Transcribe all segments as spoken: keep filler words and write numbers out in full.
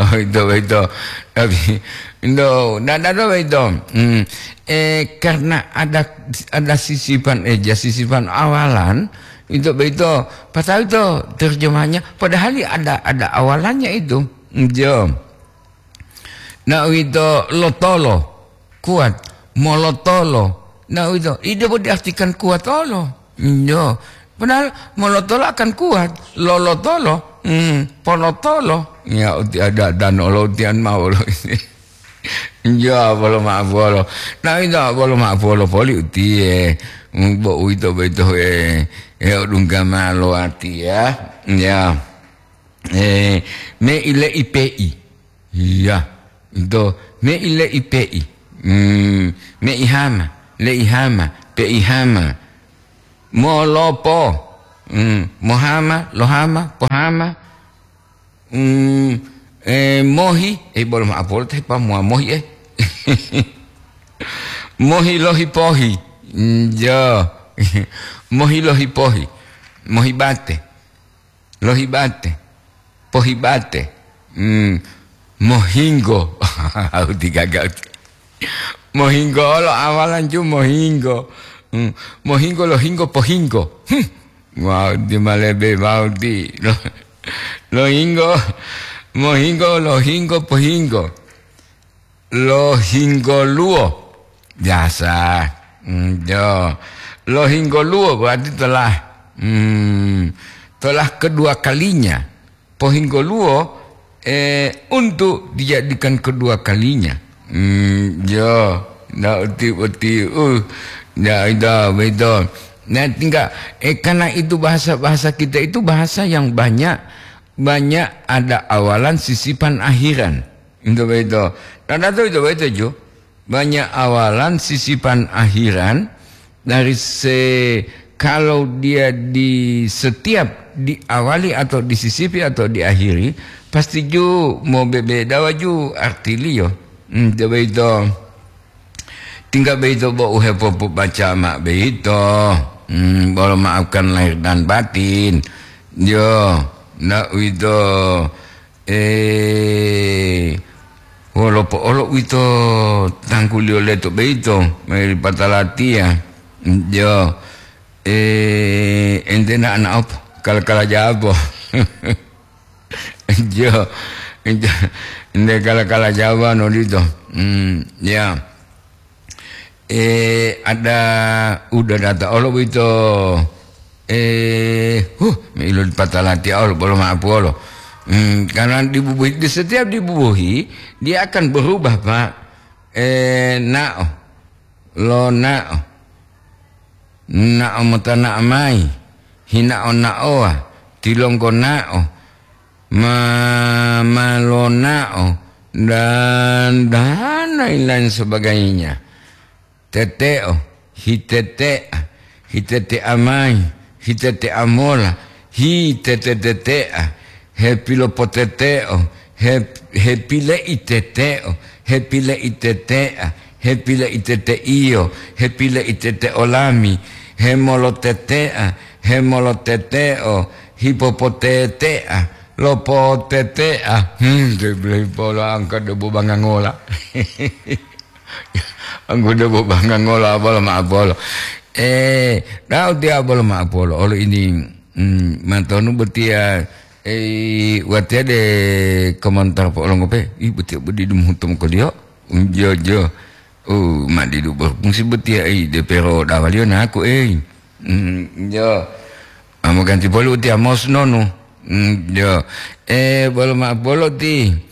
Oh, itu, itu. Tapi, itu, tidak ada itu. Hmm. Eh, karena ada, ada sisipan, eh, ya, sisipan awalan, itu, itu. Pasal itu terjemahannya, padahal ada, ada awalannya itu. Iya. Nah, itu lotolo, kuat. Molotolo. Nah, itu, itu diartikan kuat olo. Iya. Padahal molotolo akan kuat. Lolotolo, hmm, polotolo. Ya, uti ada dan olo utian mau lo ini. Ya, bolo maaf bolo. Nah, itu bolo maaf bolo poli utie. Hmm, bo uito beto, eh, eh, odungga malo ati ya. Ya. Eh, me ile ipe'i. Iya. Itu, me ile ipe'i. Hmm, me ihama, le ihama, pe ihama. Molopo. Hmm, mohama, lohama, pohama. Hmm, eh, mohi, eh, bolo maaf, bolo teh pa mua mohi, eh. Mohi lohi pohi. Hmm, jo. Mohi lohi pohi. Mohi bate. Lohibate, pohibate, hmm, mohinggo. Au tigaga uti. Mohinggo olo awalan ju mohinggo. Hmm, mohinggo, lohinggo, pohinggo. Hmm. Wau di malebe wau di. Lo-, lohinggo, mohinggo, lohinggo, pohinggo. Lohinggoluwo. Biasa. Hmm, jo. Lohinggoluwo berarti telah, hmm, telah kedua kalinya. Pohinggoluwo, eh, untuk dijadikan kedua kalinya. Hmm, jo. Ndak uti-uti, uh, ndak itu, betul. Nah, tinggal, eh, karena itu bahasa-bahasa kita itu bahasa yang banyak, banyak ada awalan, sisipan, akhiran. Itu begitu. Nah, itu, itu begitu, Ju. Banyak awalan, sisipan, akhiran. Dari se-, kalau dia di setiap diawali atau disisipi atau diakhiri, pasti ju mau bebeda waju artiliyo. Hmm, itu begitu. Tinggal begitu bo uhepopobaca ma begitu. Hmm, bolo maafkan lahir dan batin. Yo, ndak uwito. Eh, wolo po'olo uwito tangguliyo leto beito, meri patalatiya. Jo, eh, ente na ana opo? Kala-kala jabo. Jo, ente, ente kala-kala jabo no dito. Hmm, ya. Eh, ada udah data olo boyito. Eh, huh, me ilo dipata latiya olo, bolo ma'apu olo. Hmm, karena dibubuhi, di setiap dibubuhi, dia akan berubah, Pak. Eh, na'o, lona'o, na'o mota na'o mayi, hina'o na'owa, tilonggo na'o, ma-, ma lona'o, dan, dan lain-lain sebagainya. Tete'o, hitete'a, hitete'a mayi, hitete'a mola, hitetetete'a, hepilopotete'o, hep-, hepile'itete'o, hepile'itete'a, hepile'itete'iyo, hepile'itete'o lami, hemolotete'a, hemolotete'o, hipopotete'a, lopotete'a. Hmm, de-, de-, polo angka debu bangangola. Anggudo bo bangangola bolo ma'apolo. Eh, da'u tiya bolo ma'apolo. Olo ini, mm, matonu botiya, eh, watiya de komentar po olongope. Ih, botiya bodi dumuhuto mokoliyo. Unjojo. Oh, madidu berfungsi botiya, eh, de pero dawaliyo naku, eh. Mm, jo. Amo ganti poli utiya mos nonu. Mm, jo. Eh, bolo ma'apolo ti.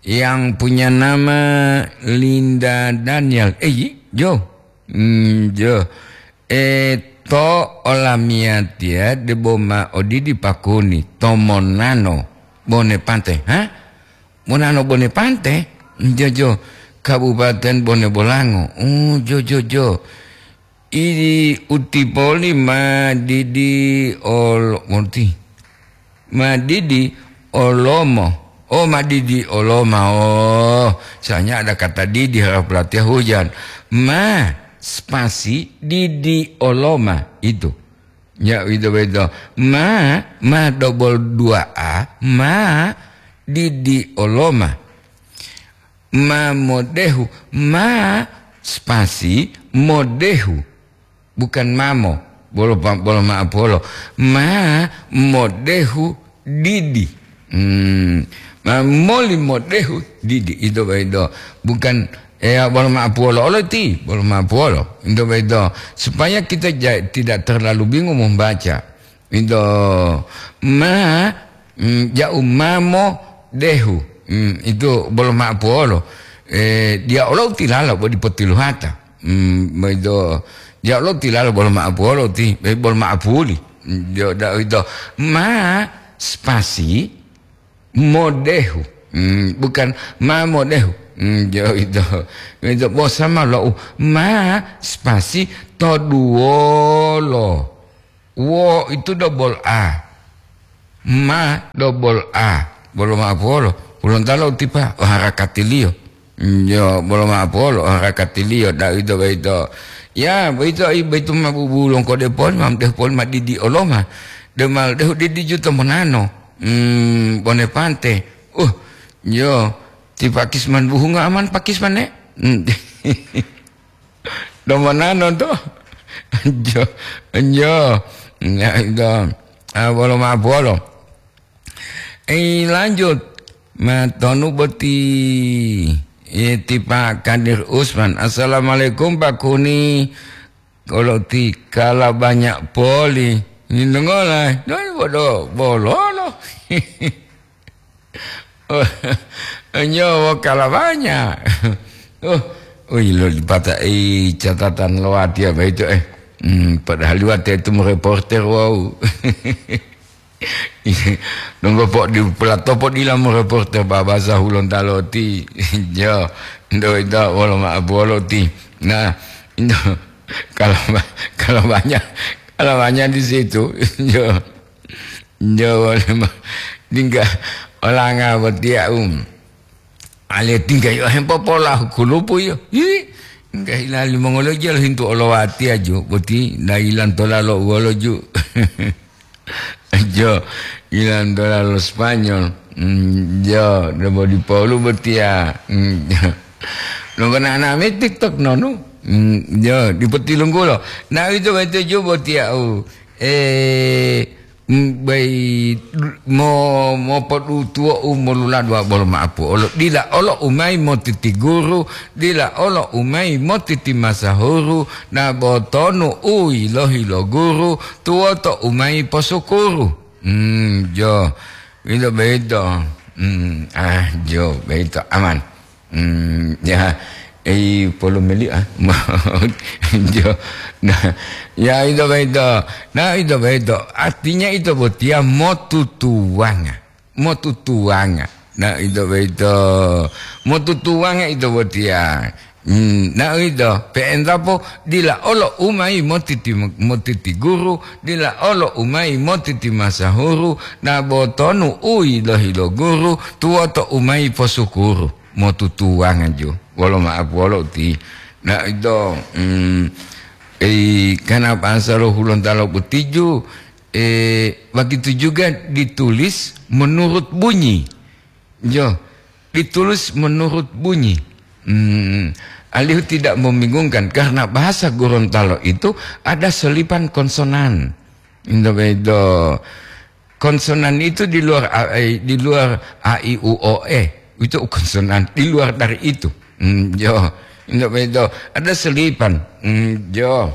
Yang punya nama Linda Daniel. Eh, yi-, jo. Hmm, jo. Eh, to olamiyatiya debo ma odidi pakuni, to monano bone pante, ha? Monano bone pante? Jo, jo. Kabupaten Bone Bolango. Oh, jo, jo, jo. Idi utipoli ma didi ol-, monti. Ma didi olomo. Oh, ma didi oloma. Oh, soalnya ada kata didi harus pelatihan hujan. Ma spasi didi oloma itu. Ya, itu betul. Ma, ma double dua A, ma didi oloma. Ma modehu, ma spasi modehu. Bukan mamo, bolo, bolo ma'apuwolo. Ma modehu didi. Hmm. Ma moli modehu didi. Ito baido. Bukan, eh, bolo ma'apuwolo. Olo ti, bolo ma'apuwolo. Ito baido. Supaya kita ja-, tidak terlalu bingung membaca. Ito ma, mm, ja'u mamo dehu. Mm, itu bolo ma'apuwolo. Eh, dia olo tilalo bo dipotiluhata. Mm, ito, dia olo tilalo bolo ma'apuwolo ti, eh, bolo ma'apuli. Mm, dia da ito ma spasi modehu. Mm, bukan ma modehu. Mm, dia ito. Ito bosa ma lo u ma spasi toduwolo. Wo itu double A. Ma double A. Bolo ma'apuwolo. Hulontalo tipa, oh, harakatiliyo. Yo, bolo ma'apuwolo, oh, harakatiliyo. Da ito boyito. Ya, boyito, i, boyito ma bubulong kode poli, ma mdehu poli ma didi oloma. De ma dehu didi juto monano. Hmm, bone pante. Uh, yo, ti pakis man buhunga aman pakis mane. Hmm. Domonano to. Enjo, enjo. Ya, itu. Ah, bolo ma'apuwolo. Eh, lanjut. Ma tonu boti. Eh, ti Pak Kadir Usman. Assalamualaikum, Pak Kuni. Kalau ti kala banyak poli. Ini dengola. Doi bodo bololo. Oh, nyowo kalawanya. Oh, oh, ilo dipata'i catatan lo watiya boyito, eh. Hmm, padahal watiya itu mereporter, wow. Nunggu po di pelatopo dila mereporter babasa Hulontalo ti. Yo, ndo ita wolo ma'apuwolo ti. Nah, ndo, kalau ba-, kalau banyak, kalau banyak di situ, yo. Njo wole ma-, tingga olanga botiya, um. Ale tingga yo hempopolahu kulupu yo. Hi, tingga hilali mongoloja lohintu olowatiya ju, boti na ilantola lo uwolo ju. Jo, ilantola lo Spanyol. Mm, jo, debo di Paulu botiya. Mm, jo. Nongko nana me TikTok nonu. Mm, jo, dipotilunggulo. Na ito, ito ju botiya, u. Eh, M-, bai mo-, mopodutuwo'u moluladuwa bolo ma'apuwolo. Dila olo u mayi motiti guru, dila olo u mayi motiti masahuru, na bo tonu u yilohi lo guru, tuwoto u mayi posukuru. Hmm, jo. Ito boyito. Hmm, ah, jo, boyito aman. Hmm, ya, ei, polomeli, ah. Jo, nah, ya, ito boyito. Nah, ito boyito. Artinya ito botiya motutuwanga. Motutuwanga. Nah, ito boyito. Motutuwanga ito botiya. Hmm, nah, ito. Pe'entapo dila olo u mayi motiti, motiti guru, dila olo u mayi motiti masahuru, na bo tonu u yilohi lo guru, tuwoto u mayi posukuru. Motutuwanga ju. Wolo ma'apuwolo uti. Na ito, mm, ei, kana bahasa lo Hulontalo boti ju, eh, begitu juga ditulis menurut bunyi. Jo, ditulis menurut bunyi. Mm, alihu tidak membingungkan karena bahasa Gorontalo itu ada selipan konsonan. Ito boyito. Konsonan itu di luar a, eh, di luar a, i, u, o, e. Itu konsonan di luar dari itu. Hmm, jo. Ito boyito. Ada selipan. Hmm, jo.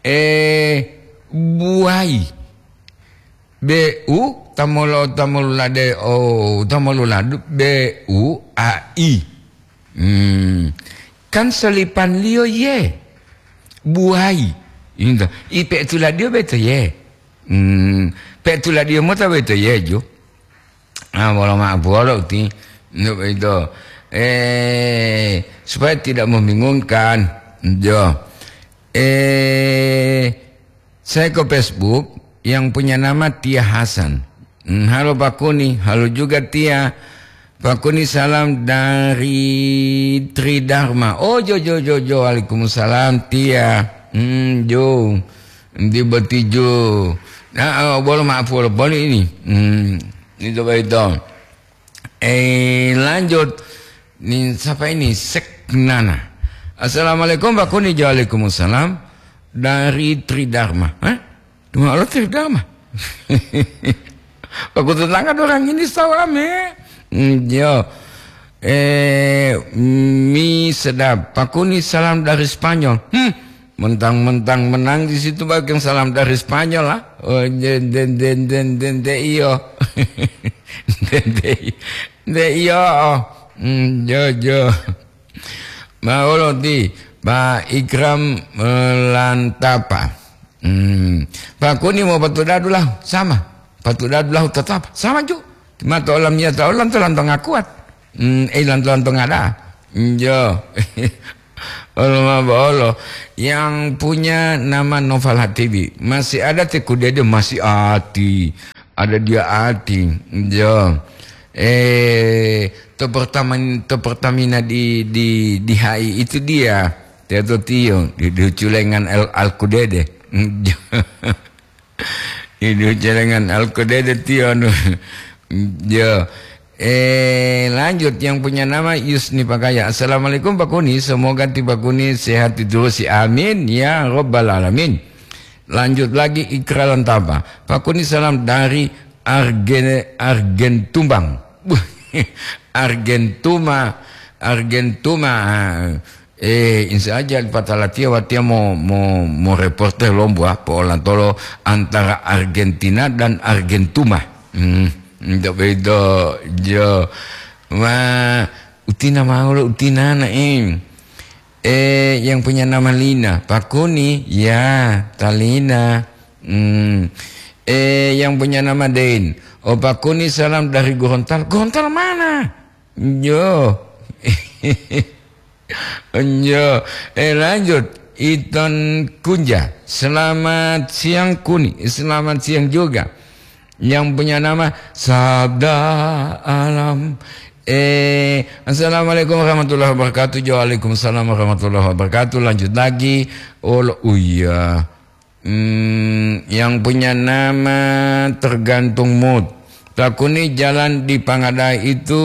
Eh, buwai. B U, tamolo, tamolulade, o, tamoluladu, B U A I. Hmm. Kan selipanliyo ye. Buwai. Into. I pe'etuladiyo boyito ye. Hmm. Pe'etuladiyo mota boyito ye, ju. Ah, wolo ma'apuwolo uti. Untuk itu. Eh, supaya tidak membingungkan. Jo. Eh, saya ke Facebook yang punya nama Tia Hasan. Hmm, halo Pak Kuni, halo juga Tia. Pak Kuni, salam dari Tridharma. Oh, jo, jo, jo, jo. Waalaikumsalam, Tia. Hmm, jo. Di boti ju. Nah, oh, bolo ma'apuwolo boli ini. Hmm. Itu begitu. Eh, lanjut. Nih, siapa ini? Seknana. "Assalamualaikum, Pak Kuni." "Waalaikumsalam." "Dari Tridharma." "Hah? Dua Allah Tridharma?" "Aku tetangga orang ini sawame." Hmm, yo. Eh, mi sedap. "Pak Kuni, salam dari Spanyol." Hmm, mentang-mentang menang di situ, bagian salam dari Spanyol lah. Oh, de, de, de, de, de, de, iyo. De, de, de, iyo. Hmm, jo, jo. Maolo ti Pak Ikram, eh, Lantapa. Hmm. "Pak Kuni mau patu dadu lah, sama. Patu dadu lah tetap, sama ju. Mato olam iya ta olam to lanto ngakuat. Hmm, eh, lanto lanto ngada." Jo. Olo ma bolo. Yang punya nama Noval Hatibi. Masih ada ti Kudede? Masih ati. Ada dia ati. Jo. Eh, to pertama, to Pertamina di, di, di H I itu dia. Teto tiyo, di, di Culengan Al, Al Kudede. Jo. Idu celengan alkodede tiyo anu. Ya. Eh, lanjut, yang punya nama Yusni Pakaya. "Assalamualaikum, Pak Kuni. Semoga ti Pak Kuni sehat diterusi. Amin ya robbal alamin." Lanjut lagi, Ikra Lantapa. "Pak Kuni, salam dari Argen-, Argentumbang." Argentuma, Argentuma. Eh, insya Allah, patala tiya watiya mo, mo, mo reporter lomboa po'olatolo antara Argentina dan Argentuma. Hmm, ndak bedo, jo. Wah, utina mau lo, utina na, eh. Eh, yang punya nama Lina, Pak Kuni, ya, Talina. Hmm. Eh, yang punya nama Dein, "Oh, Pak Kuni, salam dari Gorontalo." Gorontalo mana? Yo. Yo. Eh, lanjut. Iton Kunja, "Selamat siang, Kuni." Selamat siang juga. Yang punya nama Sabda Alam. Eh, "Assalamualaikum warahmatullahi wabarakatuh." Waalaikumsalam warahmatullahi wabarakatuh. Lanjut lagi. Oh, lo-, oh iya. Hmm, yang punya nama tergantung mood. Takuni jalan di Pangada itu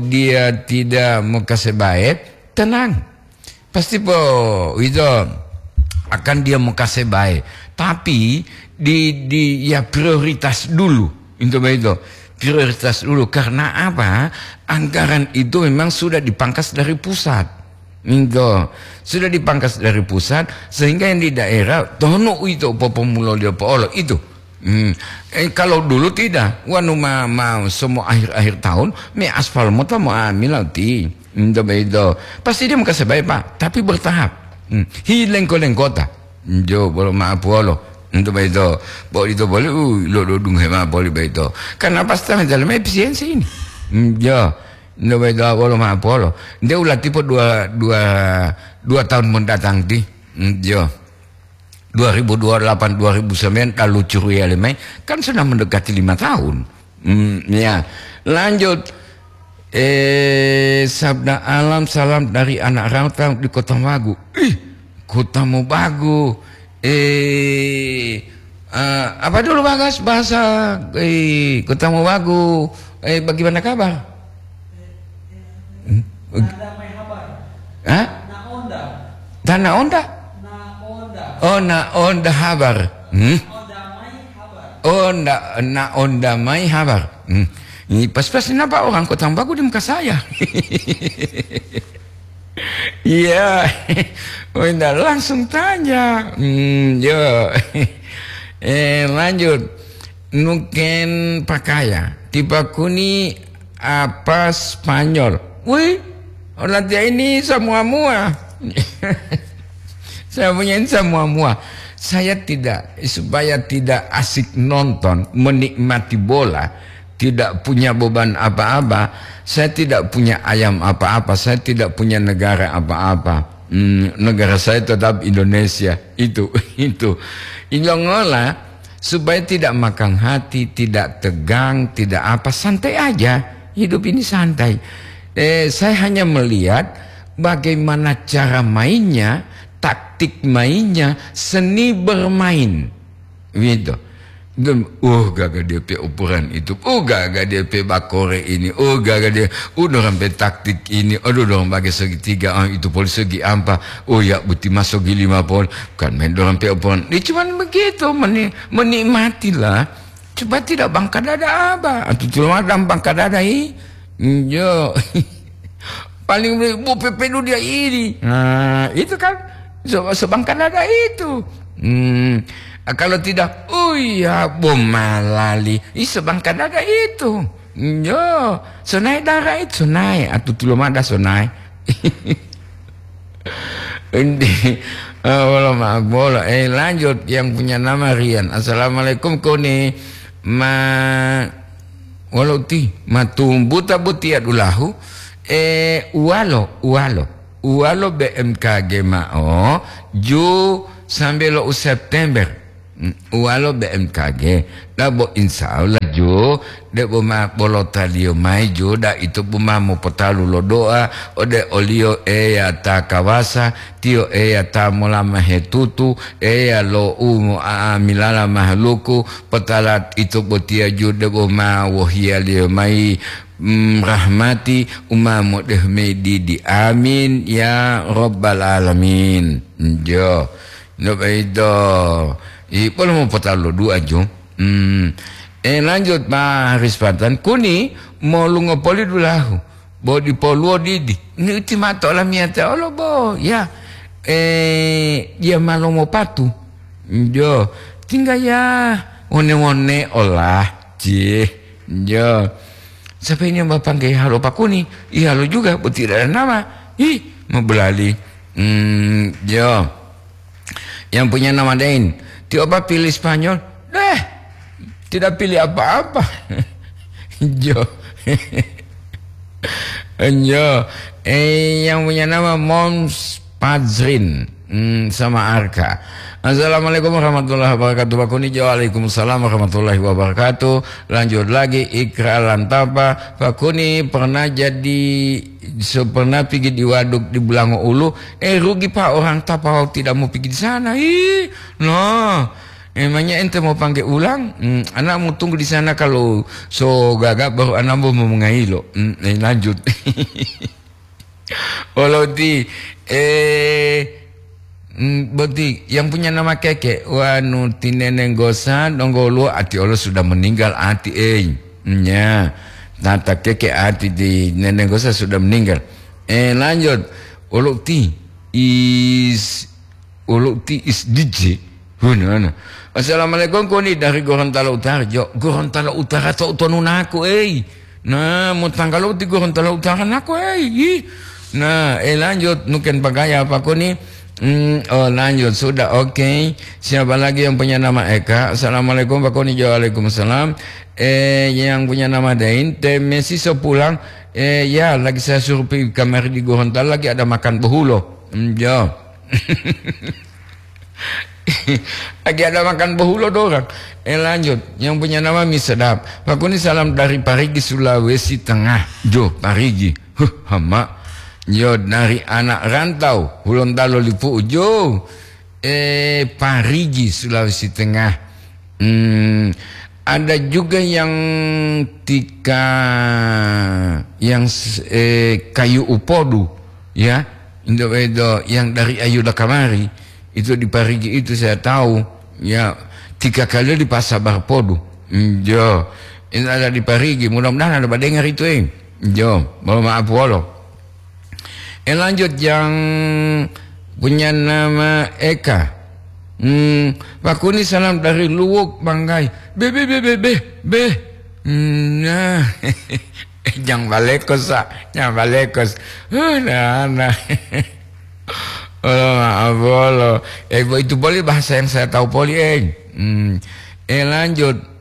dia tidak mukasebab, tenang. Pasti po itu akan dia mukasebab. Tapi di, di, ya, prioritas dulu. Itu begitu. Prioritas dulu. Karena apa? Anggaran itu memang sudah dipangkas dari pusat. Minto, sudah dipangkas dari pusat, sehingga yang di daerah tono uito popomulolio po'olo itu. Hmm. Eh, kalau dulu tidak, wanu ma, ma semua akhir-akhir tahun, me aspal mota mo amila ti. Minto begitu. Pasti dia mukasebab, Pak, tapi bertahap. Hmm. Hi lengko-lengkota. Jo, bolo maaf wolo. Untuk begitu. Bo itu boleh, uh, lo, lo dungu hema boleh begitu. Karena pas tengah jalan efisiensi ini. Hmm, jo. Nde wedo wolo ma'o polo. Nde ulatipo dua, dua, dua tahun mendatang ti. Hmm, jo. Dua ribu dua puluh delapan, dua ribu sembilan, lalu curiale mai, kan sudah mendekati lima tahun. Hmm, ya. Lanjut. Eh, sabda alam, salam dari anak rantau di Kota Magu. Ih, Kota Mobagu. Eh, eh, apa dulu, Bagas, bahasa, eh, Kota Mobagu? Eh, bagaimana kabar? Hmm? Nada mai habar. Hah? Na onda. Tana onda? Na onda. Oh, na onda habar. Hmm? Onda mai habar. Oh, na, na onda mai habar. Hmm. Ini pas-pas, kenapa orang Kota Bagu di muka saya? Iya. Oh, indah, langsung tanya. Hmm, yo. Eh, lanjut. Nuken pakaya. Tipa kuni apa Spanyol? Wih, orang dia ini semua-mua. Saya punya ini semua-mua. Saya tidak, supaya tidak asik nonton, menikmati bola, tidak punya beban apa-apa. Saya tidak punya ayam apa-apa, saya tidak punya negara apa-apa. Hmm, negara saya tetap Indonesia. Itu, itu. Ilongola, supaya tidak makan hati, tidak tegang, tidak apa, santai aja. Hidup ini santai. Eh, saya hanya melihat bagaimana cara mainnya, taktik mainnya, seni bermain. Gitu. Dan, oh, gaga dia pe operan itu. Oh, gaga dia pe bakore ini. Oh, gaga dia, oh, dorang pe taktik ini. Aduh, dorang pakai segitiga. Ah, itu polisi segi ampa. Oh, ya, buti masuk di lima pol. Bukan main dorang pe operan. Dia cuman begitu, meni-, menikmatilah. Coba tidak bangka dada apa? Atau cuma ada bangka dada, ih. Yo. Paling bo pepenu dia ini. Nah, itu kan so-, sebangka dada itu. Hmm. Kalau tidak, oh iya, bo malali. Ih, sebangka dada itu. Yo, sonai dara itu, sonai. Atu tulo mada sonai. Enti, eh, wolo ma-, bolo. Eh, lanjut, yang punya nama Rian. Assalamualaikum, Koni. Ma-, wolo ti, matumbuta botiya dulahu. Eh, uwalo, uwalo. Uwalo B M K G ma'o, ju sambe lo u September. Mm, uwalo B M K G, dabo insya Allah ju, debo ma bolotaliyo mayi ju, da ito bu ma mopotalu lo doa ode oliyo Eya ta kawasa, tiyo Eya ta molama hetutu, Eya lo u mo'a'amilala mahaluku, potalat ito botiya ju debo ma wohiyaliyo mayi, mm, rahmati u ma modehu mayi didi. Amin ya rabbal alamin. Jo. No baido. I bolo mopotalo dua jo. Hmm. Eh, lanjut, Pak Haris Patan. Kuni molungo poli dulahu. Bo dipoluwo didi. Ni uti mato olamiyata olo bo. Ya. Eh, dia malomo patu. Jo. Tinggal ya. One-one olah. Cih. Jo. Sampai ini mapangge halo Pak Kuni. Ihalo juga. Bo tidak ada nama. Ih, mabelali. Hmm, jo. Yang punya nama Dain. Tio apa pilih Spanyol? Deh, tidak pilih apa-apa. Jo. Jo. Eh, yang punya nama Moms Pazrin. Hmm, sama Arka. Assalamualaikum warahmatullahi wabarakatuh. Pak Kuni, waalaikumsalam warahmatullahi wabarakatuh. Lanjut lagi, Ikra Lantapa. Pak Kuni pernah jadi, so pernah pergi di waduk di Bulango Ulu. Eh, rugi, Pak, orang Tapau tidak mau pergi di sana. Ih, no. Emangnya ente mau panggil ulang? Hmm, anak mau tunggu di sana, kalau so gaga baru anak mau mengailo. Hmm, eh, lanjut. Oloti, eh, mm, boti yang punya nama Keke, wanu tineneng gosa, donggo luo ati olo sudah meninggal ati, eh. Nya, tata Keke ati di neneng gosa sudah meninggal. Eh, lanjut. Oloti is Ulu ti is D J. Hunana. Assalamualaikum, Koni dari Gorontalo Utara. Jo, Gorontalo Utara to utonu naku, ei. Nah, mau tanggal ti Gorontalo Utara naku, ei. Ih. Nah, eh, lanjut. Nuken bagaya apa, Koni? Hmm, oh, lanjut. Sudah, oke. Siapa lagi yang punya nama Eka? Assalamualaikum, Pak Koni. Jo, waalaikumsalam. Eh, yang punya nama Dain, te Messi so pulang. Eh, ya, lagi saya suruh pergi kamari di Gorontalo, lagi ada makan behulo. Hmm, jo. Lagi ada makan bohulo dorang. Eh, lanjut. Yang punya nama Mi Sedap. Pak Kuni, salam dari Parigi, Sulawesi Tengah. Jo, Parigi. Huh, hama. Yo, dari anak rantau, Hulontalo Lipu. Jo. Eh, Parigi, Sulawesi Tengah. Hmm, ada juga yang tika, yang s-, eh, kayu upodu, ya. Indo-, indo-, yang dari Ayuda kamari, itu di Parigi itu saya tahu, ya, tiga kali di Pasar Barpodu. Hmm, jo. Ini ada di Parigi, mudah-mudahan ada badengar itu, eh. Jo, mohon maaf, wolo. Eh, lanjut yang punya nama Eka. Hmm, Pak Kuni, salam dari Luwuk, Banggai. Be, be, be, be, be, be. Hmm, nah. Jang balekos, sa. Jang balekos. Huh, nah, nah. Oh, maaf, bolo. Eh, bo, itu boleh bahasa yang saya tahu poli, eh. Hmm. Eh, lanjut.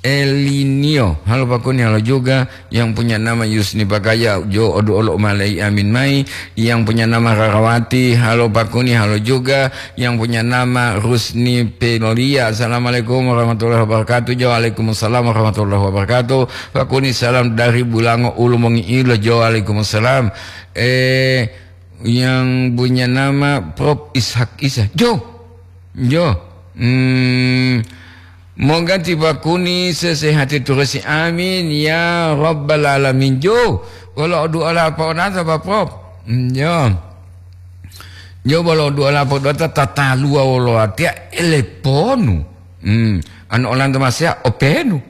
Elinio, halo Pak Kuni, halo juga. Yang punya nama Yusni Pakaya, jo odu olo malai amin mai. Yang punya nama Rarawati, halo Pak Kuni, halo juga. Yang punya nama Rusni Pelolia, assalamualaikum warahmatullahi wabarakatuh. Jo, waalaikumsalam warahmatullahi wabarakatuh. Pak Kuni, salam dari Bulango Ulu Mongi Ilo. Jo, waalaikumsalam. Eh, yang punya nama Prof Ishak Isa. Jo, jo. Hmm, Moga ti bakuni sesehati turusi, amin ya rabbal alamin. Jo, wolo du'a la po'onata, Pak Prop. Mm, jo. Jo, wolo du'a la po'onata tataluwa wolo watiya eleponu. Hmm, anu olanto masea openu.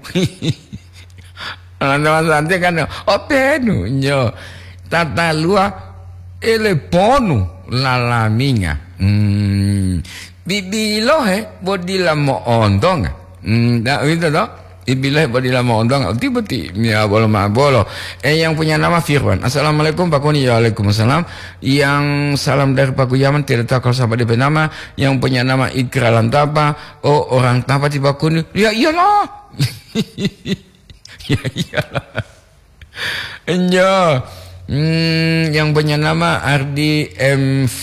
Olanto masante kan openu, jo. Tataluwa eleponu lalaminga. Hmm, bibilohe bo dila mo'ontonga. Hmm, da, uwito to? Ibilohe bo dila mo'ontonga. Uti boti, ya bolo ma bolo. Eh, yang punya nama Firwan. Assalamualaikum, Pak Kuni. Ya, waalaikumsalam. Yang salam dari Pak Guyaman, tidak tahu kalau sampai D P nama. Yang punya nama Ikra Lantapa. Oh, orang Tapa ti Pak Kuni. Ya iyalah. Ya iyalah. Enjo. Hmm, yang punya nama Ardi M V.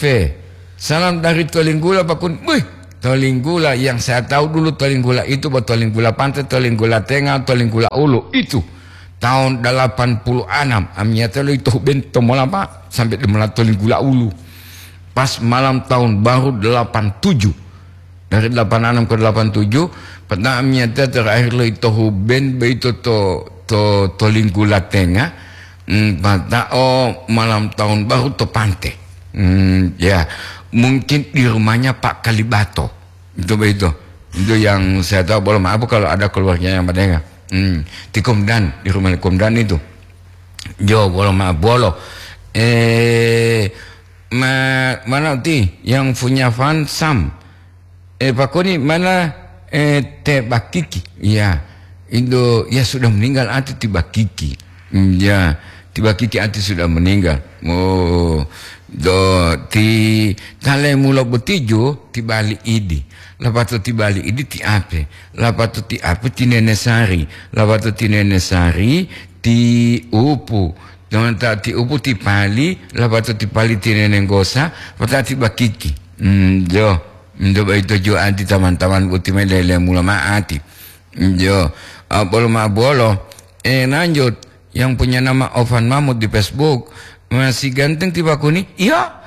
Salam dari Tolinggula, Pak Kun. Wih, Tolinggula, yang saya tahu dulu Tolinggula itu, buat Tolinggula Pantai, Tolinggula Tengah, Tolinggula Ulu. Itu tahun delapan puluh enam. Amiyata lo itu ben tomola, Pak, sampai demola Tolinggula Ulu. Pas malam tahun baru delapan tujuh. Dari delapan enam ke delapan tujuh, peta amiyata terakhir lo ito Huben boyito to, to, to Linggula Tenga, mm, peta o malam tahun baru to Pante. Mm, ya, mungkin di rumahnya Pak Kalibato. Itu boyito. Itu yang saya tahu, bolo maaf kalau ada keluarga yang mendengar. Mm, di Komdan, di rumah Komdan itu. Jo, bolo maaf, bolo. Eh, ma-, mana ti yang punya fans Sam? Eh, Pak Koni, mana, eh, Teh Bakiki? Ya, itu, ya sudah meninggal ati ti Bakiki. Hmm, ya, ti Bakiki ati sudah meninggal. Oh, do ti tale mulo botijo ti bali idi. Lapato ti bali idi ti ape? Lapato ti ape ti Nene Sari? Lapato ti Nene Sari ti upu. Jangan ta ti upu ti pali, lapato ti pali ti Nene Nggosa, pata ti Bakiki. Hmm, jo. Nto boyito jo ati taman-taman boti me lele mula ma'ati. Jo, ah, bolo ma bolo. Eh, lanjut. Yang punya nama Ovan Mahmud di Facebook. Masih ganteng ti Pak Kuni? Iya.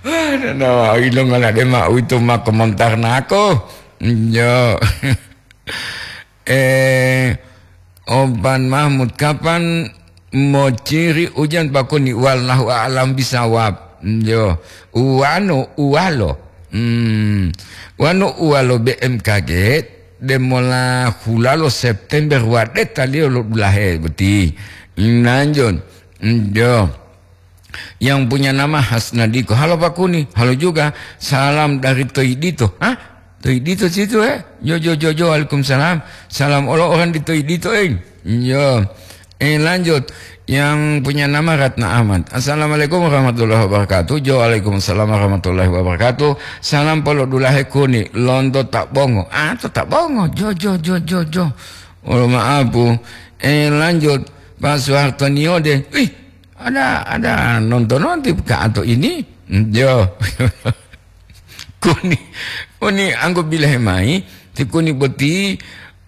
Wah, nana, ilongola de ma uwito ma komentar nako. Jo. Eh, Ovan Mahmud, kapan mociri ujan Pak Kuni? Wallahu a'lam bisawab. Yo, uwano uwalo. Hmm. Wano uwalo B M K G, demola hulalo September wadetaliyo lo dulahe boti. Nanjon. Yo. Yang punya nama Hasnadiko. Halo Pak Kuni. Halo juga. Salam dari Toidito. Hah? Toidito situ, eh? Jo, jo, jo, jo. Waalaikumsalam. Salam olo orang di Toidito, eh. Yo. Eh, lanjut. Yang punya nama Ratna Ahmad. Assalamualaikum warahmatullahi wabarakatuh. Jo, waalaikumsalam warahmatullahi wabarakatuh. Salam polo dulahe Kuni. Lonto tak bongo. Ah, to tak bongo. Jo, jo, jo, jo, jo. Olo maapu. Eh, lanjut. Pak Soeharto Niode. Wih, ada, ada nonton-nonton Kak Ato ini. Jo. Kuni, kuni anggo bilahe mai, ti kuni boti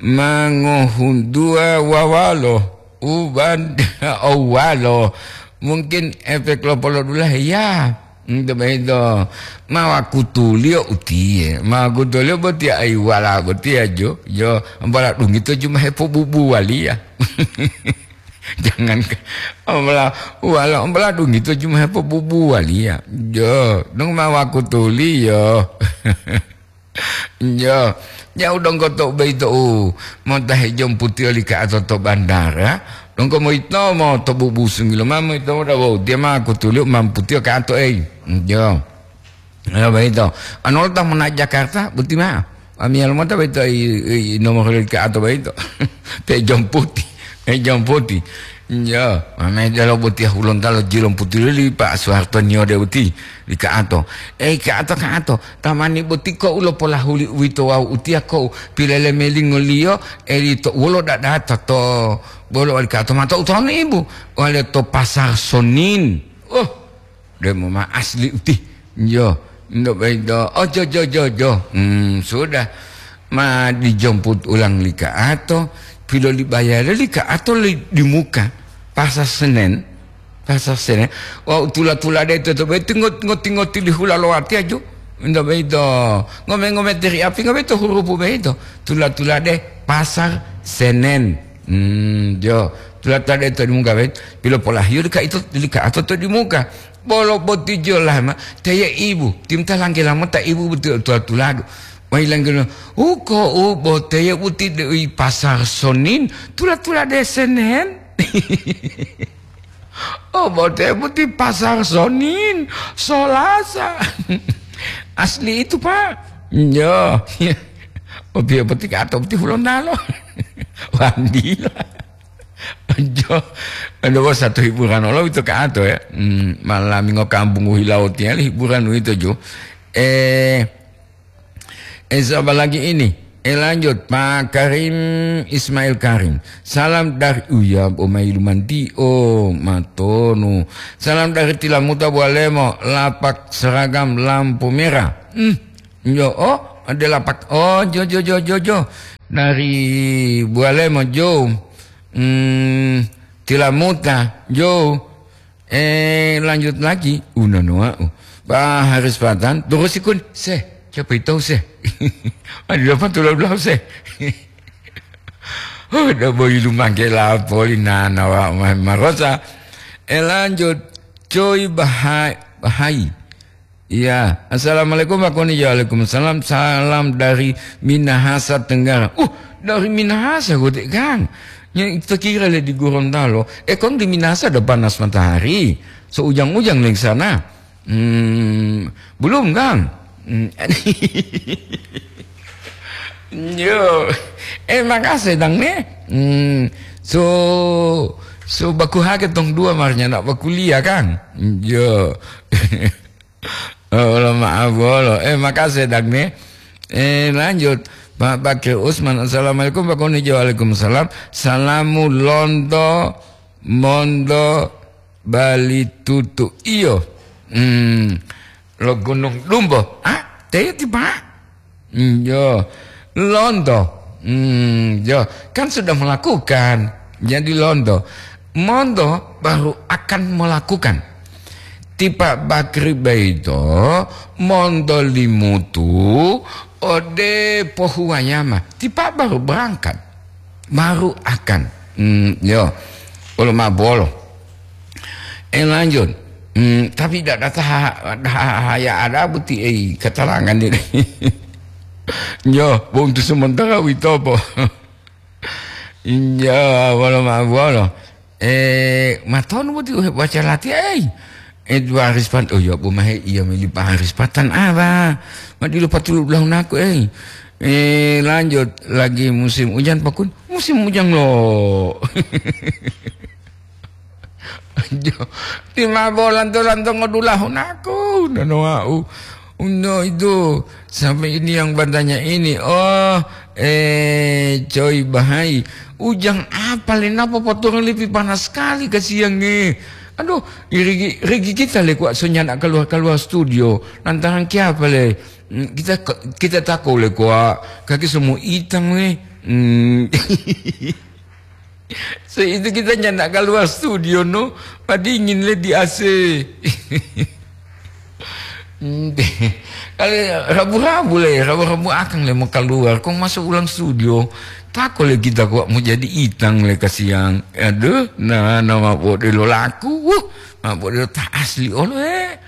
ma ngohuntuwa wawalo, uban owalo. Mungkin efek lo polodulahe ya. Ento boyito, ma wakutuliyo utiye, ma wakutuliyo boti aiwala botiya jo, jo, ambola dungito ju ma hepobubuwaliya. Jangan ka-, ambola, wala ambola dungito ju ma hepobubuwaliya. Jo, dong ma wakutuliyo. Jo, ya udong ko to boyito u, mota hejomputiyo li ka'ato to bandara, dong ko moyitomo to bubusungi lo ma moyitomo dawo, tiya ma wakutuliyo mamputiyo ka'ato ei. Jo. Ya, boyito. Anu lo ta mona Jakarta, boti mao. Amiyalo mota boyito i, i, nomor li ka'ato boyito. Pe jomputi, pe jomputi. Ya, mame delo boti hulontalo jilomputilo li Pak Soeharto Niode boti, li ka'ato. Eh, ka'ato, ka'ato. Tamani boti ko ulo polahuli uwito wawu utiya ko pilele melingoliyo, eli to wolo dadata to bolo wali ka'ato mato utonu ibu. Wale to Pasar Sonin. Oh, Demo ma asli uti. Yo, ndo baido. Oh, jo, jo, jo, jo. Hmm, sudah. Ma dijomput ulang li ka'ato, pilolibayale li ka'ato li di muka. Pasar Senen. Pasar Senen. Wau tula-tula de to, to beti ngot-, ngoti-ngoti li hula lo watiya jo. Minto boyito, ngome-ngome tiri api, ngoboyito hurupu boyito. Tula-tulade Pasar Senen. Hmm, jo. Tula-tulade to dimuka boyito. Pilopolahiyo deka ito, deka ato to dimuka. Bolo boti jolama, teye ibu. Timta langgela mota ibu boti tula-tuladu. Mai langgela, uko u boteye buti de ui Pasar Sonin. Tula-tulade Senen. Oh, bote boti Pasar Sonin, Solasa. Asli itu, Pak. Yo. Opiyo boti kato boti Hulontalo. Wandila. Jo. Aduh, satu hiburan olo itu kato ya. Hmm, malam minggu kampung hilau tiali hiburan itu jo. Eh, Eh, siapa lagi ini? Eh, lanjut, Pak Karim Ismail Karim. Salam dari, oh ya, Omai Lumantio, Matonu. Salam dari Tilamuta Bualemo, lapak seragam lampu merah. Hmm, yo, oh, ada lapak. Oh, jo, jo, jo, jo, jo. Dari Bualemo, jo. Hmm, Tilamuta, jo. Eh, lanjut lagi, unonoa, uh. Pak Haris Patan, terus ikun, se, siapa itu se? Ada dapat tulau belau se. Oh, udah boy lumangke lapoli nana wa ma-, marosa. Eh, lanjut, Coy Bahai, Bahai. Iya, assalamualaikum Pak Koni. Ya, waalaikumsalam. Salam dari Minahasa Tenggara. Uh, dari Minahasa, Gotek Kang. Nya, kita kira le di Gorontalo. Eh, kong di Minasa ada panas matahari. So ujang-ujang di sana. Hmm, belum, Kang. Hmm. Yo. Eh, makasih, Dang, ne. Hmm, so, so baku hake tong dua marnya nak bakuliah, Kang. Yo. Oh, lo maaf bolo. Eh, makasih, Dang, ne. Eh, lanjut. Pak Bakri Usman, assalamualaikum, Pak Koni. Waalaikumsalam. Salamu lonto, mondo, bali tutu. Iyo. Hmm. Lo Gunung Dumbo. Ah, teti, Pak. Hmm, yo. Lonto. Hmm, yo. Kan sudah melakukan. Jadi lonto. Monto baru akan melakukan. Tipa Bakri baito monto limutu ode pohuwayama. Tipa baru berangkat. Baru akan. Hmm, yo. Olo ma bolo. Eh, lanjut. Hmm, tapi tidak ada taha-, ada haya ada bukti, eh, keterangan ini. Yo, untuk sementara witopo. Iya, bolo ma bolo. Eh, matonu boti uhe baca lati, eh. Eh, dua Haris Pat-, oh, ya, Bu Mahe, iya, mili Pak Haris Patan, ah, Pak. Madilu patulu belahu naku, eh. Eh, lanjut lagi musim hujan, Pak Kun. Musim hujan, lo. Aduh, di mabo lanto-lanto ngodulahu naku, nanoau. Uno itu, sampai ini yang bertanya ini. Oh, eh, Coy Bahai. Ujang apa le, napa potongan lebih panas sekali ke siang nih? Aduh, rigi, rigi kita le kuat sonya nak keluar-keluar studio. Lantaran kiapa le? Hmm, kita, kita tako le kuat. Kaki semua hitam le. Hmm. So itu kita nyanda keluar studio, no, padingin le di A C. Ente. Kalau rabu-rabu le, rabu-rabu akang le mau keluar, kong masuk ulang studio, tako le kita kok mau jadi itang le kasiang. Aduh, nah, nah, mabode lo laku, wuh, mabode lo tak asli olo, eh.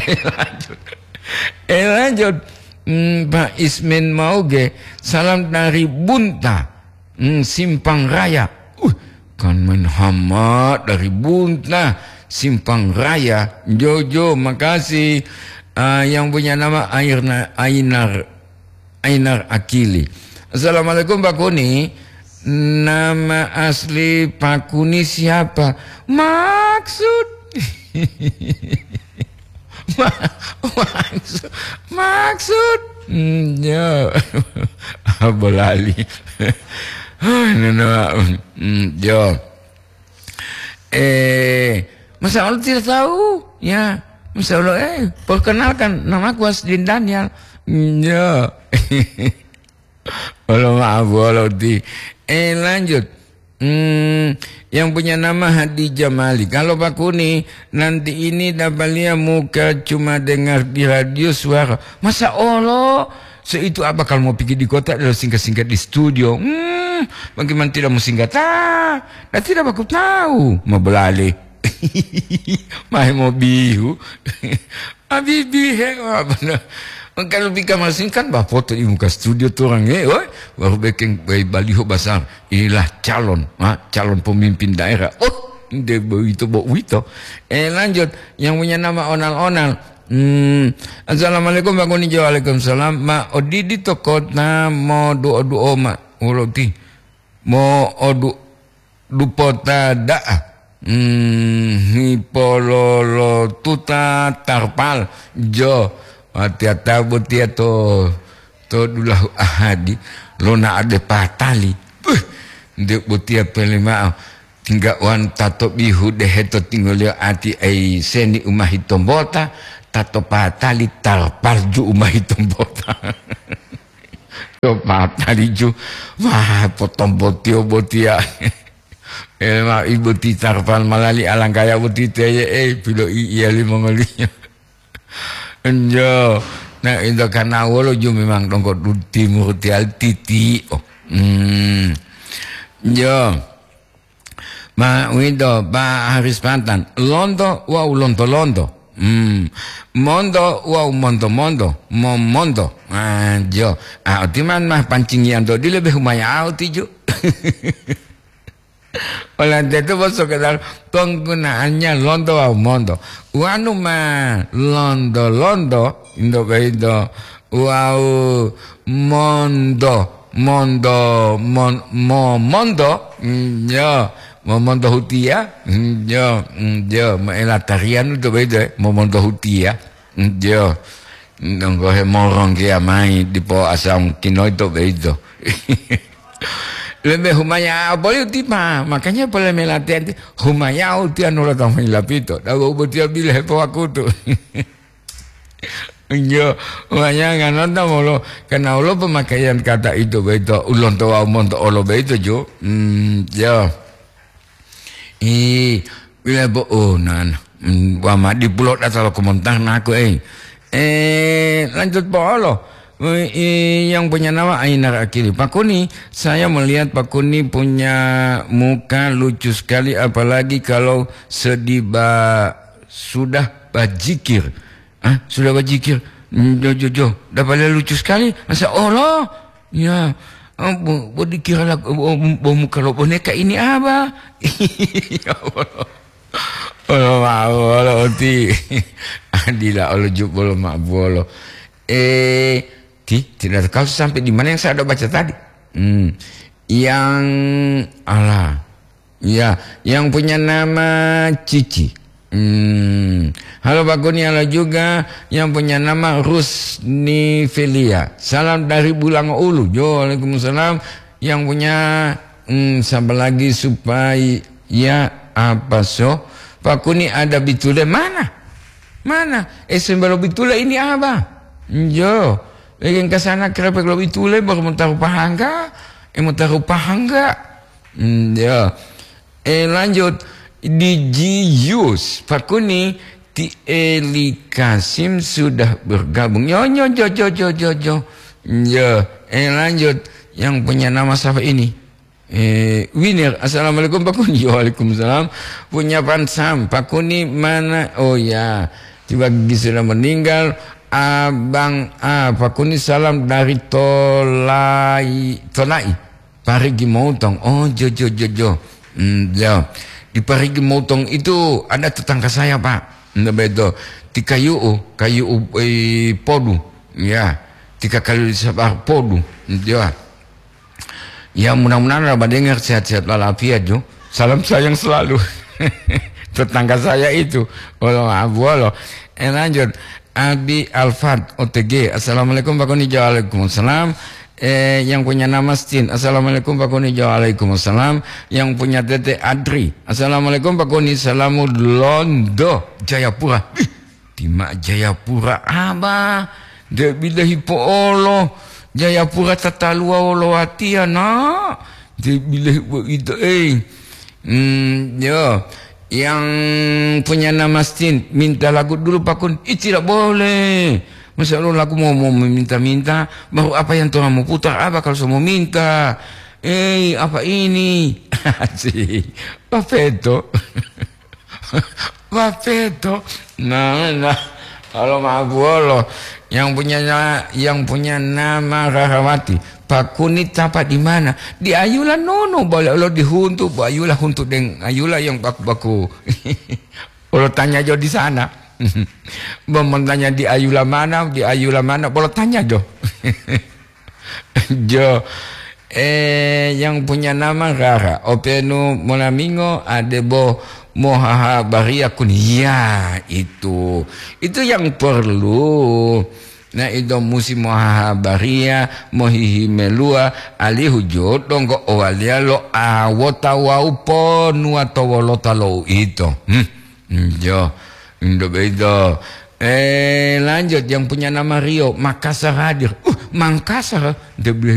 Eh, lanjut. Eh, lanjut. Hmm, Pak Ismen Mauge, salam dari Bunta. Hmm, Simpang Raya. Uh, kan main hama dari Bunta, Simpang Raya. Jojo, makasih. Ah, yang punya nama Airna-, Ainar, Ainar Akili. Assalamualaikum, Pak Kuni. Nama asli Pak Kuni siapa? Maksud. Ma-, maksud, maksud. Hmm, ya. Apa lali? Hai, nana, hmm, ya. Eh, masa Allah tidak tahu? Ya, masa Allah, eh, perkenalkan, namaku Asdin Daniel. Hmm, ya. Olo maaf, olo di. Eh, lanjut. Hmm, yang punya nama Hadijah Malik. Kalau Pak Kuni, nanti ini dapatnya muka cuma dengar di radio suara. Masa Allah? Seitu apa kalau mau pergi di kota adalah singkat-singkat di studio. Hmm, bagaimana tidak mau singkat? Ah, dan tidak aku tahu. Mau beralih. Mahe mobihu. Habibi, he, apa na? Kalau bika masing kan bah foto di muka studio tu orang, eh, oi, baru bikin, eh, baliho besar. Inilah calon, ha, calon pemimpin daerah. Oh, de begitu bo uwito. Eh, lanjut, yang punya nama Onal-Onal. Hmm, assalamualaikum Pak Kuni. Waalaikumsalam. Ma odidi to kota mo duo-duo ma. Wolo ti. Mo odu dupota da'a. Hmm, hipololotuta tarpal jo. Watiya ta botiya to, to dulahu ahadi. Lona ade patali. Puh, nde botiya pele ma'o. Tingga wan tato bihu dehe to tinggoliyo ati ai seni umahi tombota, tato patali tarpal ju umahi tombota. To patali ju, wah, potong botiyo botiya. Eh, ma ibu ti tarpal malali alangkaya boti teye, eh, pilo i iya limongoliyo. Enjo. Nah, itu karena wolo ju memang dongko du timur tial titi. Oh. Hmm. Jo. Ma uwito, Pak Haris Pantan. Lonto wawu lonto-lonto. Hmm. Monto wawu monto-monto. Momonto. Ah, jo. Ah, otiman mah pancingiyanto dile be humaya au tiju. Oleh itu, bos, sekedar penggunaannya lonto wawu monto. Wanu ma lonto-lonto, indo boyito, wawu monto, monto, mon-, mo-, monto, mm, yo, momonto hutiya, mm, yo, mm, yo, moela tarian to boyito, eh, momonto hutiya, mm, yo. Donggo hemoronggiya mayi dipo asam kinoyito boyito. Lebe humaya boli utipa, makanya pole melatihan ti humaya utiya nula tamu lapito. Dawa ubotiya bile hepowakutu. Injo, humaya nganonta molo, karena ulo pemakaian kata itu boyito, ulonto wawu monto olo boyito, Jo. Hmm, ya. Ih, wila bo, oh, nan. Hmm, wama dipulo data lo komentar naku, eh. Eh, lanjut po olo. Eh, eh, yang punya nama Ainar Akili. Pak Kuni, saya melihat Pak Kuni punya muka lucu sekali, apalagi kalau sedih ba-, sudah bajikir. Ah, sudah bajikir. Hmm, jo, jo, jo. Dapatnya lucu sekali. Masa Allah. Ya. Ah, bo, bo dikira lah, bo, bo muka lo boneka ini apa? Ya Allah. Olo mau, olo oti. Adila, olo jup, olo mabu, olo. Eh, ti, tidak tahu sampai di mana yang saya ada baca tadi. Hmm. Yang, alah. Ya, yang punya nama Cici. Hmm. Halo Pak Kuni, halo juga yang punya nama Rusni Felia. Salam dari Bulango Ulu. Jo, waalaikumsalam. Yang punya, hmm, siapa lagi supaya apa so? Pak Kuni ada bitule mana? Mana? Eh, sembalo bitule ini apa? Jo. Lagi ke sana kerepek lo bitule baru mau taruh pahangga. Eh, mau taruh pahangga. Hmm, ya. Eh, lanjut. Di Jius, Pak Kuni, ti Eli Kasim sudah bergabung. Yo, yo, jo, jo, jo, jo, jo. Yo, eh, lanjut. Yang punya nama siapa ini? Eh, Winir, assalamualaikum Pak Kuni. Waalaikumsalam. Punya Pansam, Pak Kuni mana? Oh ya, tiba gigi sudah meninggal. Abang, ah, Pak Kuni salam dari Tolai, Tolai. Parigi Moutong. Oh, jo, jo, jo, jo. Hmm, jo. Di Parigi Moutong itu ada tetangga saya, Pak. Nda beto. Ti kayu'u, kayu'u, eh, podu. Ya. Tika kali sabar podu. Hmm, jo. Ya, mudah-mudahan Bapak dengar sehat-sehat walafiat, jo. Salam sayang selalu. Tetangga saya itu. Walo, abu, walo. Eh, lanjut. Abi Alfat, O T G. Assalamualaikum, Pak Kuni. Waalaikumsalam. Eh, yang punya nama Stin. Assalamualaikum, Pak Kuni. Waalaikumsalam. Yang punya Tete Adri. Assalamualaikum, Pak Kuni. Salamu Londo, Jayapura. Ih, tima Jayapura, Abah. Nde bilahi po'olo. Jayapura tataluwa wolo watiya, nak. Dia bilang begitu, eh. Hmm, yo, yang punya nama Stin, minta lagu dulu, Pak Kun. Ih, tidak boleh. Masa lo lagu mau, mau meminta-minta, baru apa yang Tuhan mau putar, apa kalau semua minta? Eh, apa ini? Cih, apa itu? Bapeto. Nah, nah. Kalau mabuolo, yang punya na-, yang punya nama Rahawati, Pak Kun ni tapa di mana? Di Ayula nono, boleh lo dihuntu, Bu Ayula huntu deng Ayula yang baku-baku. Olo tanya jo di sana. Mau tanya di Ayula mana, di Ayula mana, bolo tanya jo. Jo, eh, yang punya nama Rara, openu molamingo adebo mohahabariya kun. Ya, itu. Itu yang perlu. Nah, itu musi mohahabariya, mohihimeluwa, alihu jo donggo owaliya lo awota wawu ponuwa to wolota lo uito. Hmm. Jo, indo beito. Eh, lanjut, yang punya nama Rio, Makassar hadir. Uh, Mangkasar. Dia bilang,